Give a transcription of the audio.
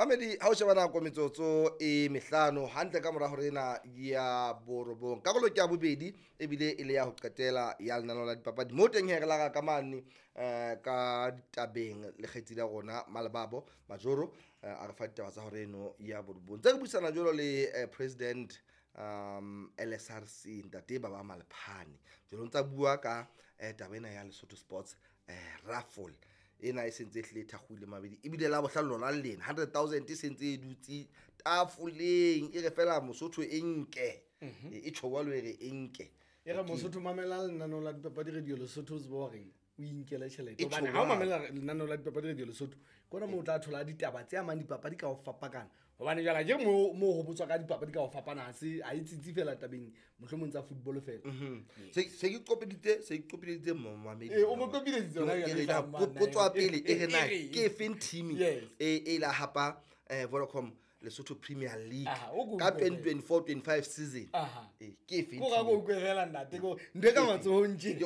Mamedi, ha o sheba nako, metsotso e mehlano hantle ka mora hore ena ya 9, karolo ke ya bobedi ebile e le ya ho qetela ya lenaneo la dipapadi. Mo teng he re lara ka mane ka ditabeng le kgaitsedi ya rona Malebabo Majoro, a re fa ditaba tsa hore eno ya 9. Ntse re buisana jwalo le president LSRC, ntate Baba Malephane. Jwalo ntsa bua ka taba ena ya Lesotho Sports raffle ena e sentse e hlile e thakgoile mabedi, ebile la bohlano lona le lena 100,000 e sentse e dutse tafoleng, e re fela Mosotho e nke, e tjho jwalo, e re e nke. E re Mosotho mamela lenaneo la dipapadi Radio Lesotho, o tsebe horeng o inkele tjhelete. E Hobane tjho ha o jwalo. Mamela lenaneo la dipapadi Radio Lesotho, ke ona moo o tla thola ditaba tse amang dipapadi ka ho fapakana, hobane jwale akere moo ho botswa ka dipapadi ka ho fapana, ha se ha e tsitsi fela tabeng mohlomong tsa football fela. Se ke qopeditse momamedi. Ee, o mo qopeleditse hona Ke jwale, re na, tla mmana, potso ya pele e re na e re. ke efeng team e la hapa Vodacom Lesotho Premier League Aha, o ko ka utlwe fela. 2024-25 season? Aha. Ke efeng Ko ga team? ko utlwe fela ntate, ko ntho e ka matsohong tje. Ke